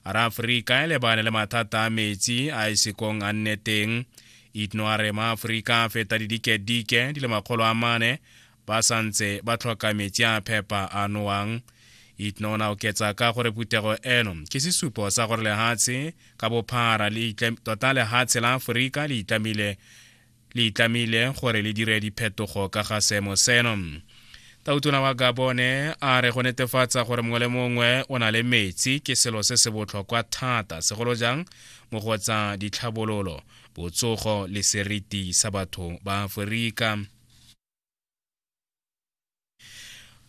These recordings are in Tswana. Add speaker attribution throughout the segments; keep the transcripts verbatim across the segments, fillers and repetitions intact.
Speaker 1: A re Aforika e lebane le mathata a metsi a e sekong a nne teng. Itno a re maAforika a feta didikedike di le makgolo a mane ba santse ba tlhoka metsi a phepa a nowang. Itno o ne a oketsa ka gore phuthego eno ke sesupo sa gore lehatshe ka bophara le tota lehatshe la Aforika le itlamile le itlamile gore le dire diphetogo ka ga seemo seno. Tautona wa Gabone a re go netefatsa gore mongwe le mongwe o na le metsi ke selo se se botlhokwa thata, segolo jang mo go tsa ditlhabololo, botsogo le seriti sa batho ba Aforika.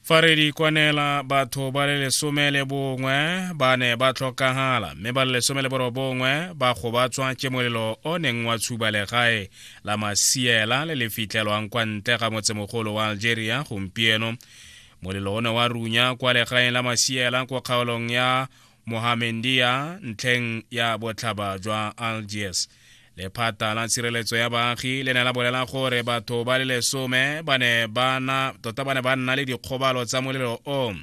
Speaker 1: Fa re di kwanela, batho ba le lesome le bongwe ba ne ba tlhokagala mme ba le lesome le borobongwe ba gobatswa ke molelo o neng wa tshuba legae la Masiela le le fitlhelwang kwa ntle ga motsemogolo wa Algeria gompieno. Molelo o ne wa runya kwa legaeng la Masiela kwa kgaolong ya Mohammedia ntlheng ya botlhaba jwa Algiers. Lephata la tshireletso ya baagi le ne la bolela gore batho ba le lesome ba ne ba na tota ba ne ba nna le dikgobalo tsa molelo o,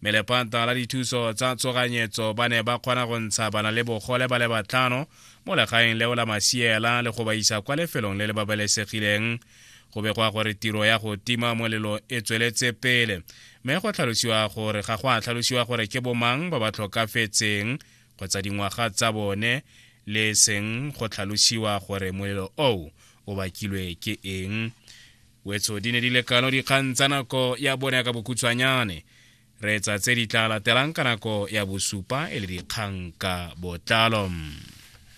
Speaker 1: mme lephata la dithuso tsa tshoganyetso ba ne ba kgona go ntsha bana le bogole ba le batlhano mo legaeng leo la Masiela le go ba isa kwa lefelong le le babalesegileng. Go begwa gore tiro ya go tima molelo e tsweletse pele, mme go tlhalosiwa gore ga go a tlhalosiwa gore ke bomang ba ba tlhokafetseng kgotsa dingwaga tsa bone, le seng go tlhalosiwa gore molelo oo o bakilwe ke eng. Wetso di ne di lekano dikgang tsa nako ya bone ka bokhutshwanyane. Re etsa tse di tla latelang ka nako ya bosupa e le dikgang ka botlalo.